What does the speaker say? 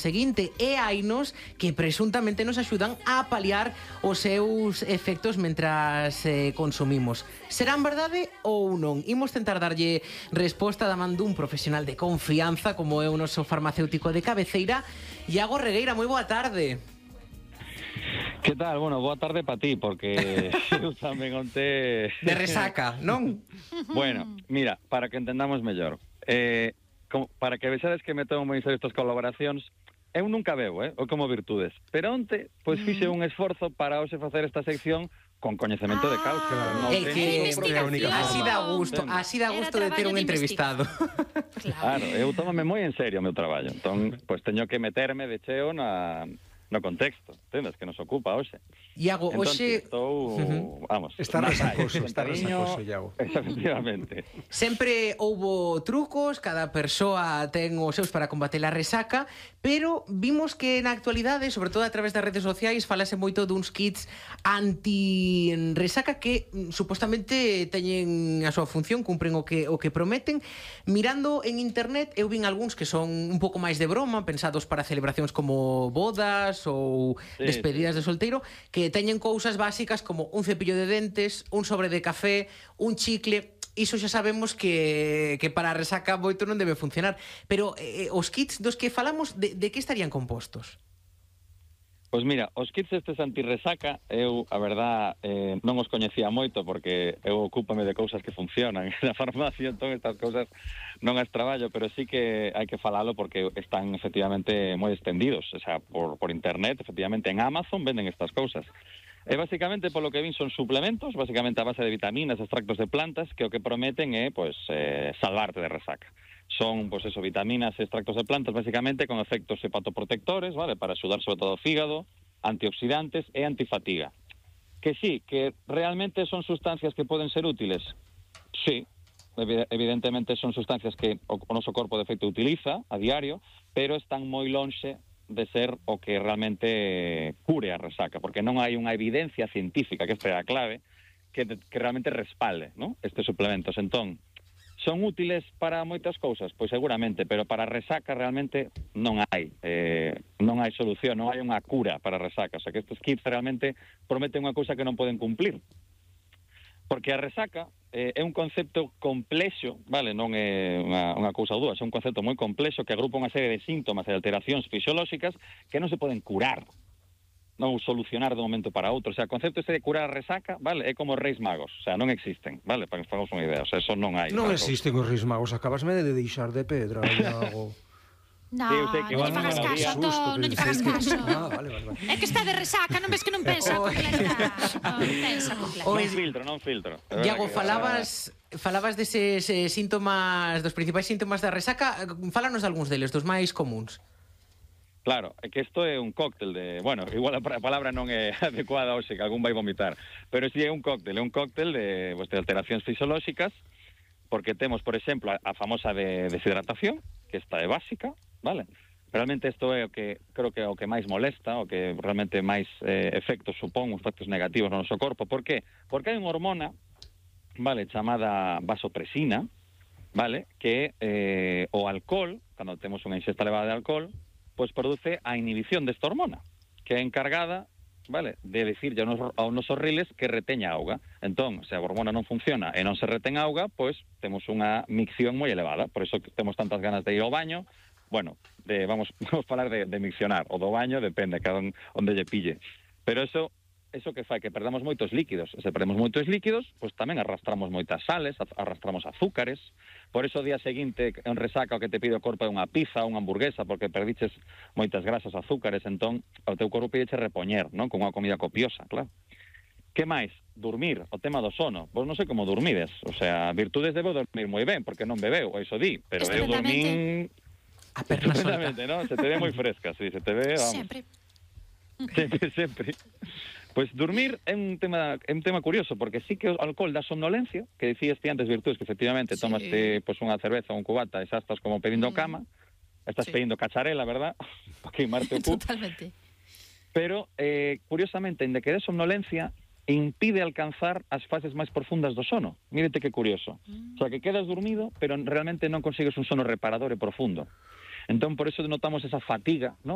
seguinte, e hainos que presuntamente nos axudan a paliar os seus efectos mentras consumimos. Serán verdade ou non? Imos tentar darlle resposta da man dun profesional de confianza como é o noso farmacéutico de cabeceira, Iago Regueira. Moi boa tarde. Que tal? Bueno, boa tarde para ti, porque eu tamén onte... De resaca, non? Bueno, mira, para que entendamos mellor, para que vexades que me tomo moi serio estas colaboracións, eu nunca bebo, ou como virtudes, pero onte, pois fixe un esforzo para hoxe facer esta sección con coñecemento de causa. É que así dá gusto de ter un entrevistado. Claro, eu tómame moi en serio o meu traballo, entón, pois teño que meterme de cheo no contexto, entendes, que nos ocupa hoxe. Iago, hoxe... Vamos... Está resacoso, Iago. Efectivamente. Sempre houbo trucos, cada persoa ten os seus para combater a resaca, pero vimos que na actualidade, sobre todo a través das redes sociais, falase moito duns kits anti-resaca que supostamente teñen a súa función, cumpren o que prometen. Mirando en internet, eu vin algúns que son un pouco máis de broma, pensados para celebracións como bodas ou despedidas de solteiro, que teñen cousas básicas como un cepillo de dentes, un sobre de café, un chicle. Iso xa sabemos que para a resaca moito non debe funcionar. Pero os kits dos que falamos, de que estarían compostos? Pois mira, os kits estes anti-resaca, eu, a verdad, non os coñecía moito porque eu ocúpame de cousas que funcionan na farmacia, entón estas cousas non as traballo, pero sí que hai que falalo porque están efectivamente moi extendidos, o sea, por internet, efectivamente, en Amazon venden estas cousas. E basicamente, polo que vin, son suplementos, basicamente a base de vitaminas, extractos de plantas, que o que prometen é, pois, salvarte de resaca. Son, pois eso, vitaminas e extractos de plantas, basicamente, con efectos hepatoprotectores, vale, para axudar sobre todo o fígado, antioxidantes e antifatiga. Que sí, que realmente son sustancias que poden ser útiles. Sí, evidentemente son sustancias que o noso corpo de feito utiliza a diario, pero están moi lonxe de ser o que realmente cure a resaca, porque non hai unha evidencia científica, que esta é a clave, que realmente respalde, ¿no?, estes suplementos. Entón, son útiles para moitas cousas? Pois seguramente, pero para a resaca realmente non hai solución, non hai unha cura para a resaca. O sea, que estes kits realmente prometen unha cousa que non poden cumplir. Porque a resaca é un concepto complexo, vale, non é unha cousa ou dúas, é un concepto moi complexo que agrupa unha serie de síntomas e alteracións fisiolóxicas que non se poden curar, non solucionar de un momento para outro. O sea, o concepto este de curar a resaca, vale, é como os Reis Magos, o sea, non existen, vale, para que nos fagamos unha idea, o sea, eso non hai. Non existen os Reis Magos, acabasme de deixar de pedra, Iago. No, non lle fagas caso, Antón, non lle fagas caso. Vale. É que está de resaca, non ves que non pensa completa. Non filtro. Iago, falabas deses síntomas, dos principais síntomas da resaca, fálanos de algúns deles, dos máis comuns. Claro, é que isto é un cóctel de... Bueno, igual a palabra non é adecuada hoxe, que algún vai vomitar, pero si é un cóctel de alteracións fisiolóxicas, porque temos, por exemplo, a famosa de deshidratación, que esta é básica, vale? Realmente isto é o que creo que é o que máis molesta, o que realmente máis efectos supón, efectos negativos no noso corpo. Por qué? Porque hai unha hormona, vale, chamada vasopresina, vale, que o alcohol, cando temos unha ingesta elevada de alcohol, pois produce a inhibición desta hormona, que é encargada, vale, de decirlle aos nosos riles que reteña auga. Entón, se a hormona non funciona e non se retén auga, pois temos unha micción moi elevada, por iso que temos tantas ganas de ir ao baño. Bueno, vamos falar de miccionar, o do baño, depende, cada onde lle pille. Pero eso que fai que perdamos moitos líquidos. Se perdemos moitos líquidos, pois tamén arrastramos moitas sales, arrastramos azúcares. Por iso o día seguinte, en resaca, o que te pide o corpo é unha pizza, unha hamburguesa, porque perdiches moitas grasas, azúcares, entón o teu corpo pídeche repoñer, non? Con unha comida copiosa, claro. Que máis? Dormir, o tema do sono. Pois non sei como dormides. O sea, virtudes debo dormir moi ben, porque non bebeu, iso di, pero eu dormín... A perna solta. ¿No? Se te ve moi fresca, sí, se te ve, vamos. Sempre. Pois dormir é un tema curioso, porque sí que o alcohol dá somnolencia, que dicías ti antes, virtudes, que efectivamente tomaste pois unha cerveza ou un cubata e xa estás como pedindo cama, estás pedindo cacharela, verdad? Para queimarte o cu. Totalmente. Pero, curiosamente, en de que dé somnolencia, impide alcanzar as fases máis profundas do sono. Mírete que curioso. O sea, que quedas dormido, pero realmente non consigues un sono reparador e profundo. Entón, por eso notamos esa fatiga, ¿no?